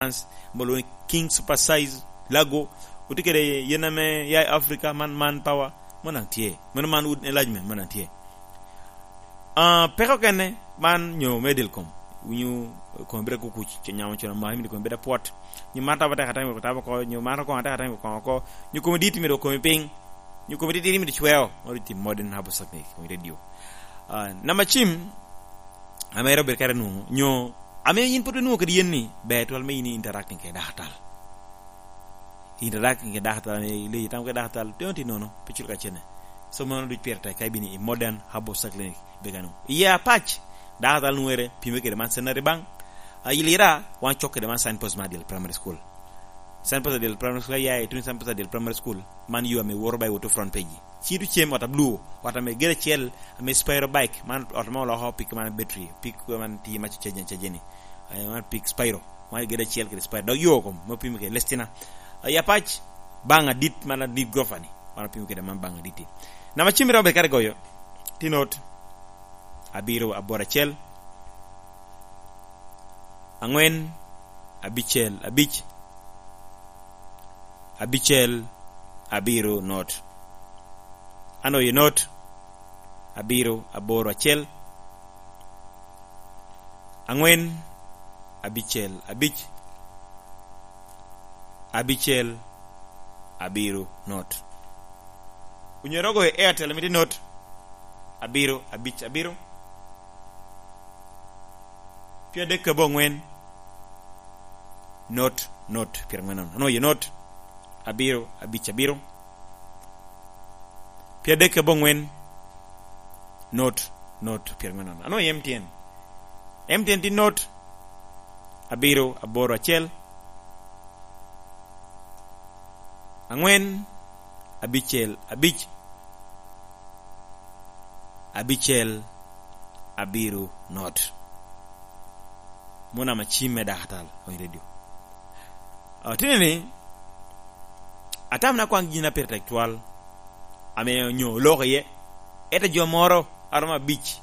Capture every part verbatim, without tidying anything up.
France, mo lwongo ni King Super Size, Lago, otye kede yen ame ya i Africa, man, man power, mo naŋ tye. Mano man wood enlargement, mo naŋ tye. Ah, peko kene, man nyo me del kom. Winyo kom bedo kukuc, ce nyamo con amaki, myero kom bedo apwot. Nyo man tabo tek atamo, tabo oko, nyo man okoŋo tek atamo, okoŋo oko. Nyo kom dit, myero kom piny. Nyo kom titidi, myero cweo. Moro i tim modern herbal technique, kom radio. Ah, namba cim, ame ero bedo kare nwoŋo, nyo ame yin pwod inwoŋo kede yen ni, ber twal me yin interacting kede dakatal. Interact kede dakatal, ame ile itam kede dakatal, tino tinono, pe culo ka cene. So mano duc pire tek ka ibino i modern herbal clinic, be kano. Iya pac, dakatal nwere, pime kede man Centenary Bank. A, i Lira, wan cok kede man Signpost me Adyel Primary School. Signpost Adyel Primary School, ya i tuŋ Signpost Adyel Primary School, man yo ame woto ba iwoto front page. Cito cem ot a blue, ot ame gede acel, ame Spiro bike, man ot ame oloko pik man battery, pik man tiyo mac caje, caje ni. Eh, man pik Spiro. Wan gede acel kede Spiro. Dok yo kom, me opimo kede Lestina. Ayi apac, baŋ adit, man adit gorofa ni. Wan opimo kede man baŋ adit-ti. Namba cim iromo bedo kare goyo, tye not, abiro, aboro acel, aŋwen, abicel, abic, abicel, abiro, not. Ano ye not, abiro, aboro acel, aŋwen, abicel, abic, abicel, abiro, not. Onyero ogoyo Airtel miti not, abiro, abic, abiro, pyeradek abongwen, not, not, pyeraŋwen nono. Ano ye not, abiro, abic, abiro, pyeradek abongwen, not, not, pyeraŋwen nono. Ano ye M T N? M T N ti not, abiro, aboro, acel, aŋwen, abicel, abic, abicel, abiro, not. Mano namba cim me dakatal, on radio. Ah, tini ni, atam na kwaŋ gin a pire tek twal, ame onyo oloko iye, ete jo moro, aromo abic,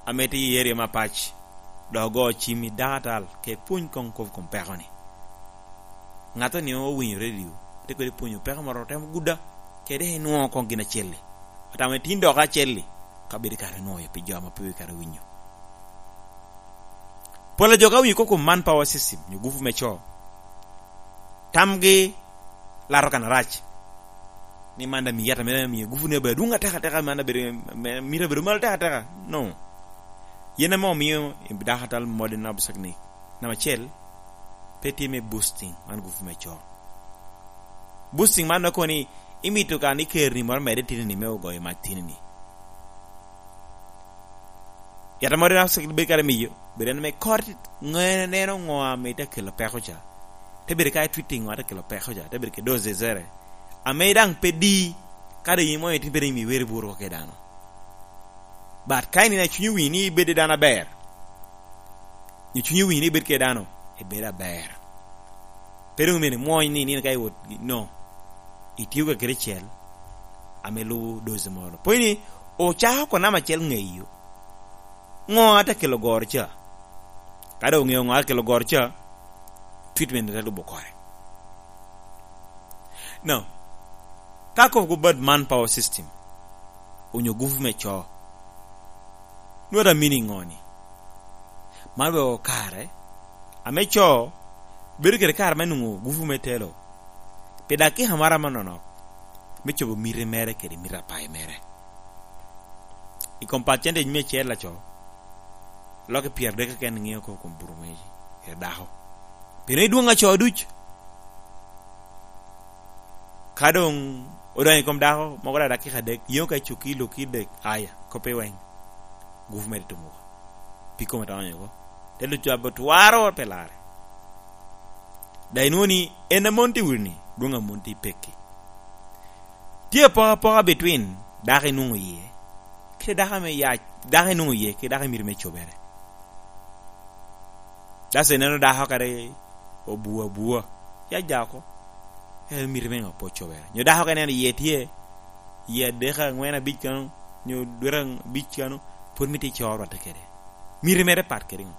ame tye i area mapac, dok ogo cim i dakatal, ke pwony koŋ kop kom peko ni. Ŋat ni owinyo radio, te kwede pwonyo peko moro, temo guda, kede enwoŋo koŋ gin acel-li. Atamo ni tin dok acel-li, ka bedo kare enwoŋo pi jo ame pe kare winyo. Pol a jo ka winyo kop kom man power system, nyo gupu me co, tamgi lato kan arac. Ni man da mi yat ame miyo gupu ni obedo adwoŋ ateka ateka, man da bedo, me, mito bedo malo ateka ateka. No. Yen ame omio dakatal modern obsakni. Namba acel, pe tye me boosting, man gupu me co. Boosting man dok kono ni imito ka ni kerni moro medde tinini me ogoyo mac tinini. Yat moro dok bedo kare miyo, bedo en me kor ŋe-, neno ŋo ame te kelo peko ca. Te bedo ka itwitting ŋo te kelo peko ca, te bedo ke dozezere. Ame daŋ pe di, ka doŋ imo itin pe doŋ imi weri buro ke dano. But ka in ina cunyi winyi ni ibed dano aber, nyo cunyi winyi ni ibed ke dano, ibed aber. Pe doŋ myero imwony ni nino ka iwot, no. Itio ka kede cel ame lubo dozi moro. Pwony ni, ocako oko namba acel ŋeyo ŋo a te kelo goro ca. Ka doŋ oŋeo ŋo a kelo goro ca, treatment te lubo kore. Now, ka kop ku bad manpower system, onyo gupu me co, what a meaning ŋo ni? Man weko kare, ame co, bedo kede kare me nwoŋo gupu me telo, pi dakika mara manonok, me cobo miti mere kede miti apayo mere. I kom percentage me acel a co, loki pyeradek keken ŋeo kop kom buto megi, kede dako. Pien idwoŋ a co duc. Ka doŋ odonyo i kom dako, mogo daŋ dakika adek, yeŋo ka icuki, iluki, idek, aya, koppe weng. Gupu mere tumo. Pi kome to onyo oko. Te luco abo twaro pe lare. Daŋ inwoŋo ni en a mon tye wunu ni, dwoŋ a mon tye pekki. Tye apokapoka between dako inwoŋo iye, kede dako ame yac, dako inwoŋo iye, kede dako imito me cobere. That's why ineno dako kare obua abua, yac ja oko, en mito me ŋo pe ocobere. Nyo dako ka ineno iye tye, iye adek, aŋwen, abic kano, nyo dwete abic kano, pwod mito ico rwatte kede. Miti mere pat kede ŋo?